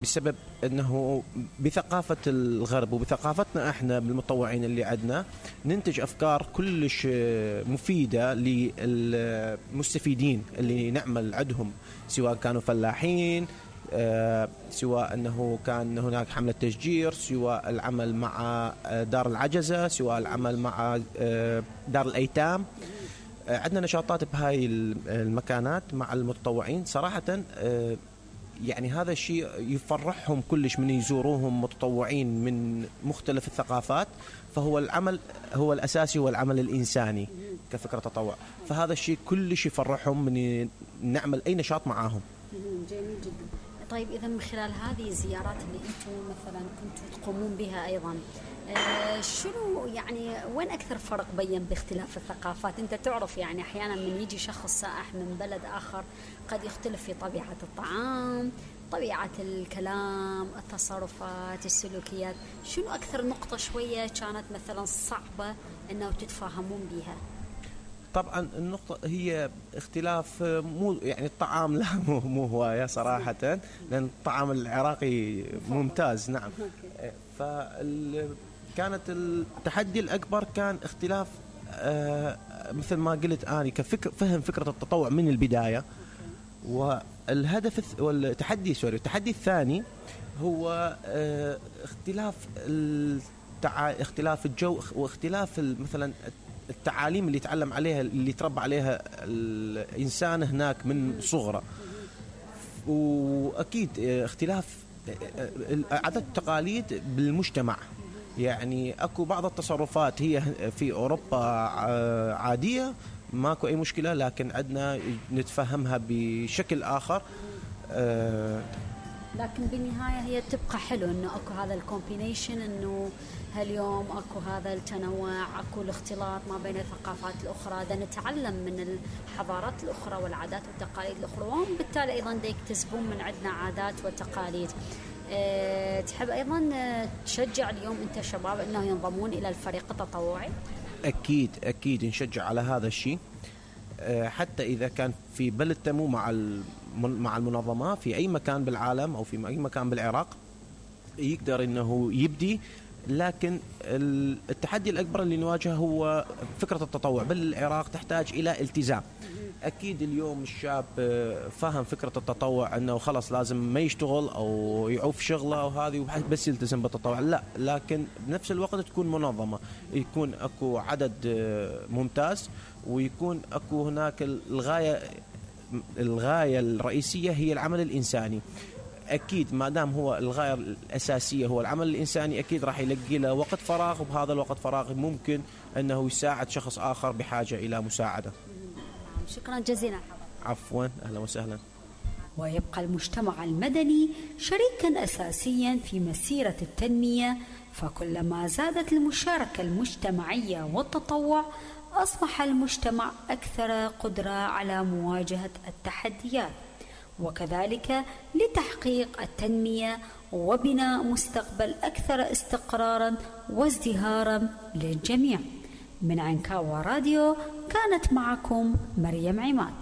بسبب أنه بثقافة الغرب وبثقافتنا احنا بالمطوعين اللي عندنا ننتج أفكار كلش مفيدة للمستفيدين اللي نعمل عندهم، سواء كانوا فلاحين، سواء أنه كان هناك حملة تشجير، سواء العمل مع دار العجزة، سواء العمل مع دار الأيتام. عندنا نشاطات بهاي المكانات مع المتطوعين صراحة. يعني هذا الشيء يفرحهم كلش من يزوروهم متطوعين من مختلف الثقافات. فهو العمل هو الأساسي، هو العمل الإنساني كفكرة تطوع، فهذا الشيء كلش يفرحهم من نعمل أي نشاط معاهم. جميل جدا. طيب إذا من خلال هذه الزيارات اللي أنتم مثلا كنتوا تقومون بها أيضا، شنو يعني وين أكثر فرق بين باختلاف الثقافات؟ أنت تعرف يعني أحيانا من يجي شخص سائح من بلد آخر قد يختلف في طبيعة الطعام، طبيعة الكلام، التصرفات، السلوكيات. شنو أكثر نقطة شوية كانت مثلا صعبة أنه تتفاهمون بها؟ طبعا النقطة هي اختلاف، مو يعني الطعام لا مو هواية صراحة، لأن الطعام العراقي ممتاز. نعم. كانت التحدي الأكبر كان اختلاف مثل ما قلت أنا فهم فكرة التطوع من البداية. والهدف التحدي الثاني هو اختلاف الجو، واختلاف مثلا التعاليم اللي يتعلم عليها، اللي يتربى عليها الإنسان هناك من صغره. وأكيد اختلاف عادات التقاليد بالمجتمع. يعني أكو بعض التصرفات هي في أوروبا عادية ماكو أي مشكلة، لكن عندنا نتفهمها بشكل آخر. لكن بالنهاية هي تبقى حلو إنه أكو هذا الكومبينيشن، إنه هاليوم أكو هذا التنوع، أكو الاختلاط ما بين الثقافات الأخرى، دا نتعلم من الحضارات الأخرى والعادات والتقاليد الأخرى، وهم بالتالي أيضا دا يكتسبون من عندنا عادات وتقاليد. تحب أيضا تشجع اليوم أنت شباب أنه ينضمون إلى الفريق التطوعي؟ أكيد نشجع على هذا الشيء. حتى إذا كان في بلد تمو مع المنظمة في أي مكان بالعالم أو في أي مكان بالعراق يقدر أنه يبدي. لكن التحدي الأكبر اللي نواجهه هو فكرة التطوع بالعراق تحتاج إلى التزام. أكيد اليوم الشاب فاهم فكرة التطوع أنه خلص لازم ما يشتغل أو يعوف شغله وهذه بس يلتزم بالتطوع، لا. لكن بنفس الوقت تكون منظمة، يكون أكو عدد ممتاز، ويكون أكو هناك الغاية الرئيسية هي العمل الإنساني. أكيد ما دام هو الغاية الأساسية هو العمل الإنساني، أكيد راح يلقي له وقت فراغ، وبهذا الوقت فراغ ممكن أنه يساعد شخص آخر بحاجة إلى مساعدة. شكرا جزيلا. عفوا، أهلا وسهلا. ويبقى المجتمع المدني شريكا أساسيا في مسيرة التنمية، فكلما زادت المشاركة المجتمعية والتطوع أصبح المجتمع أكثر قدرة على مواجهة التحديات، وكذلك لتحقيق التنمية وبناء مستقبل أكثر استقرارا وازدهارا للجميع. من عنكاوى راديو كانت معكم مريم عماد.